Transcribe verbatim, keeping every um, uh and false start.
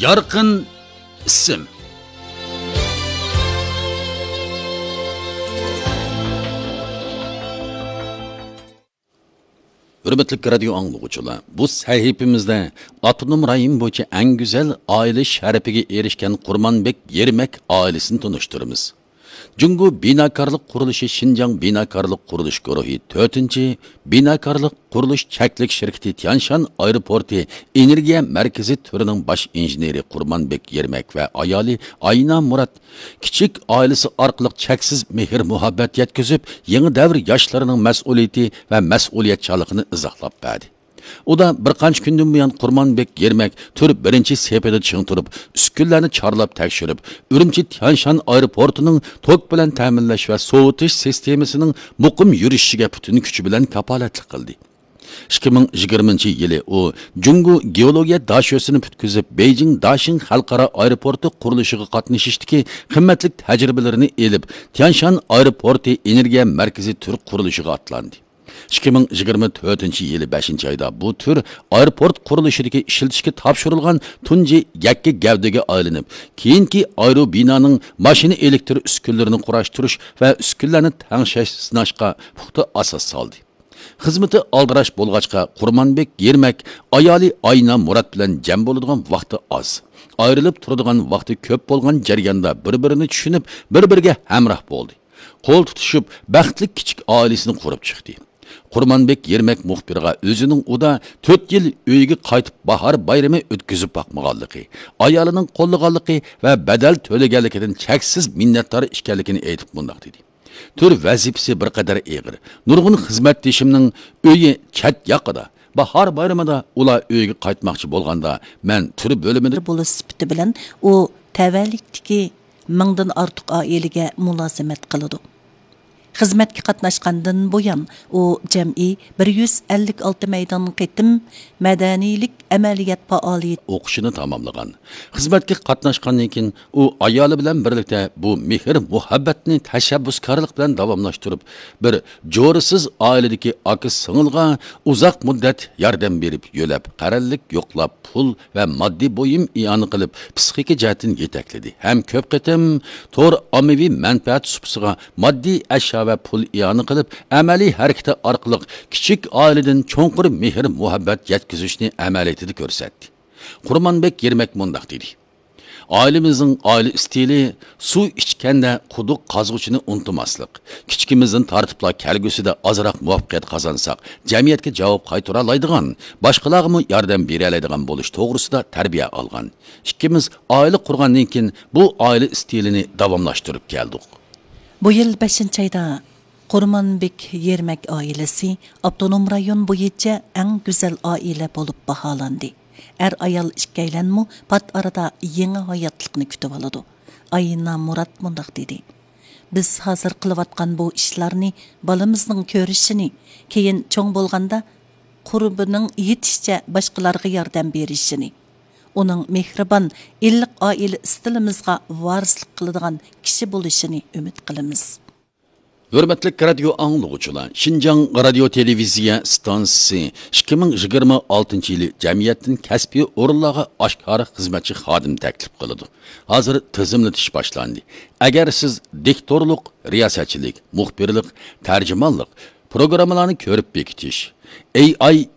يارقىن ئىسىم. ھۆرمەتلىك رادىيو ئاڭلىغۇچىلار، بۇ سەھىپىمىزدە ئاپتونوم رايون بويىچە ئەڭ گۈزەل ئائىلە شەرىپىگە ئېرىشكەن قۇرمانبېك يېرمەك ئائىلىسىنى تونۇشتۇرىمىز. جۇڭگو بىناكارلىق قۇرۇلۇشى شىنجاڭ بىناكارلىق قۇرۇلۇش گۇرۇھى تۆتىنچى بىناكارلىق قۇرۇلۇش چەكلىك شىركىتى تيانشان ئايروپورتى ئېنېرگىيە مەركىزى تۈرىنىڭ باش ئىنژېنېرى قۇرمانبېك يېرمەك ۋە ئايالى ئاينا مۇرات كىچىك ئائىلىسى ئارقىلىق چەكسىز مېھىر-مۇھەببەت يەتكۈزۈپ، يېڭى دەۋر ياشلىرىنىڭ مەسئۇلىيىتى ۋە مەسئۇلىيەتچانلىقىنى ئىزاھلاپ بەردى. ئۇدا بىر قانچە كۈندىن بۇيان قۇرمانبېك يېرمەك تۈر بىرىنچى سېپىدە چىڭ تۇرۇپ، ئۈسكۈنىلەرنى چارلاپ تەكشۈرۈپ، ئۈرۈمچى تيانشان ئايروپورتىنىڭ توك بىلەن تەمىنلەش ۋە سوۋۇتۇش سىستېمىسىنىڭ مۇقىم يۈرۈشۈشىگە پۈتۈن كۈچى بىلەن كاپالەتلىك قىلدى. ئىككى مىڭ يىگىرمىنچى يىلى ئۇ جۇڭگو گېئولوگىيە داشۆسىنى پۈتكۈزۈپ، بېيجىڭ داشىڭ خەلقئارا ئايروپورتى قۇرۇلۇشىغا قاتنىشىشتىكى قىممەتلىك تەجرىبىلىرىنى ئېلىپ، تيانشان ئايروپورتى ئېنېرگىيە مەركىزى تۈر قۇرۇلۇشىغا ئاتلاندى. ئىككى مىڭ يىگىرمە تۆتىنچى يىلى بەشىنچى ئايدا بۇ تۈر ئايروپورت قۇرۇلۇشىدىكى ئىشلىتىشكە تاپشۇرۇلغان تۇنجى يەككە گەۋدىگە ئايلىنىپ، كېيىنكى ئايروبىنانىڭ ماشىنا ئېلېكتر ئۈسكۈنىلىرىنى قۇراشتۇرۇش ۋە ئۈسكۈنىلەرنى تەڭشەش، سىناشقا پۇختا ئاساس سالدى. خىزمىتى ئالدىراش بولغاچقا، قۇرمانبېك يېرمەك ئايالى ئاينا مۇرات بىلەن جەم بولىدىغان ۋاقتى ئاز، ئايرىلىپ تۇرىدىغان ۋاقتى كۆپ بولغان جەرياندا بىر-بىرىنى چۈشىنىپ، بىر-بىرىگە ھەمراھ بولدى. قول تۇتۇشۇپ، بەختلىك كىچىك ئائىلىسىنى قۇرۇپ چىقتى. قۇرمانبېك يېرمەك مۇخبىرغا ئۆزىنىڭ ئۇدا تۆت يىل ئۆيىگە قايتىپ باھار بايرىمى ئۆتكۈزۈپ باقمىغانلىقى، ئايالىنىڭ قوللىغانلىقى ۋە بەدەل تۆلىگەنلىكىدىن چەكسىز مىننەتدار ئىكەنلىكىنى ئېيتىپ مۇنداق دېدى. تۈر ۋەزىپىسى بىر قەدەر ئېغىر. نۇرغۇن خىزمەتدىشىمنىڭ ئۆيى چەت ياقىدا. باھار بايرىمىدا ئۇلار ئۆيىگە قايتماقچى بولغاندا، مەن تۈر بۆلۈمىدە بولۇش سۈپىتى بىلەن ئۇ تەۋەلىكتىكى مىڭدىن ئارتۇق ئائىلىگە مۇلازىمەت قىلىدۇ. خىزمەتكە قاتناشقاندىن بۇيان، ئۇ جەمئىي بىر يۈز ئەللىك ئالتە مەيدان قېتىم مەدەنىيلىك ئەمەلىيەت پائالىيىتى ئوقۇشىنى تاماملىغان. خىزمەتكە قاتناشقاندىن كېيىن، ئۇ ئايالى بىلەن بىرلىكتە بۇ مېھىر-مۇھەببەتنى تەشەببۇسكارلىق بىلەن داۋاملاشتۇرۇپ، بىر جورىسىز ئائىلىدىكى ئاكا-سىڭىلغا ئۇزاق مۇددەت ياردەم بېرىپ، يۆلەپ، قەرەللىك يوقلاپ، پۇل ۋە ماددىي بۇيۇم ئىئانە قىلىپ، پىسخىكا جەھەتتىن يېتەكلىدى ھەم كۆپ قېتىم تور ئاممىۋى مەنپەئەت سۇپىسىغا ماددىي ئەشيا ۋە پۇل ئىئانە قىلىپ، ئەمەلىي ھەرىكىتى ئارقىلىق كىچىك ئائىلىدىن چوڭقۇر مېھىر-مۇھەببەت يەتكۈزۈشنى ئەمەلىيىتىدە كۆرسەتتى. قۇرمانبېك يېرمەك مۇنداق دېدى: ئائىلىمىزنىڭ ئائىلە ئىستىلى سۇ ئىچكەندە قۇدۇق قازغۇچىنى ئۇنتۇماسلىق. كىچىكىمىزدىن تارتىپلا كەلگۈسىدە ئازراق مۇۋەپپەقىيەت قازانساق، جەمئىيەتكە جاۋاب قايتۇرالايدىغان، باشقىلارغىمۇ ياردەم بېرەلەيدىغان بولۇش توغرىسىدا تەربىيە ئالغان. ئىككىمىز ئائىلە قۇرغاندىن كېيىن، بۇ ئائىلە ئىستىلىنى داۋاملاشتۇرۇپ كەلدۇق. بۇ يىل بەشىنچى ئايدا قۇرمانبېك يېرمەك ئائىلىسى ئاپتونوم رايون بويىچە ئەڭ گۈزەل ئائىلە بولۇپ باھالاندى. ئەر-ئايال ئىككىيلەنمۇ پات ئارىدا يېڭى ھاياتلىقنى كۈتۈۋالىدۇ. ئاينا مۇرات مۇنداق دېدى: بىز ھازىر قىلىۋاتقان بۇ ئىشلارنى بالىمىزنىڭ كۆرۈشىنى، كېيىن چوڭ بولغاندا قۇربىنىڭ يېتىشىچە باشقىلارغا ياردەم بېرىشىنى، ئۇنىڭ مېھرىبان، ئىللىق ئائىلە ئىستىلىمىزغا ۋارىسلىق قىلىدىغان كىشى بولۇشىنى ئۈمىد قىلىمىز. ھۆرمەتلىك رادىيو ئاڭلىغۇچىلار، شىنجاڭ رادىيو تېلېۋىزىيە ئىستانسىسى ئىككى مىڭ يىگىرمە ئالتىنچى يىلى جەمئىيەتتىن كەسپىي ئورۇنلارغا ئاشكارا خىزمەتچى خادىم تەكلىپ قىلىدۇ. ھازىر تىزىملىتىش باشلاندى. ئەگەر سىز دىكتورلۇق، رىياسەتچىلىك، مۇخبىرلىق، تەرجىمانلىق، پروگراممىلارنى كۆرۈپ بېكىتىش، ئېي ئاي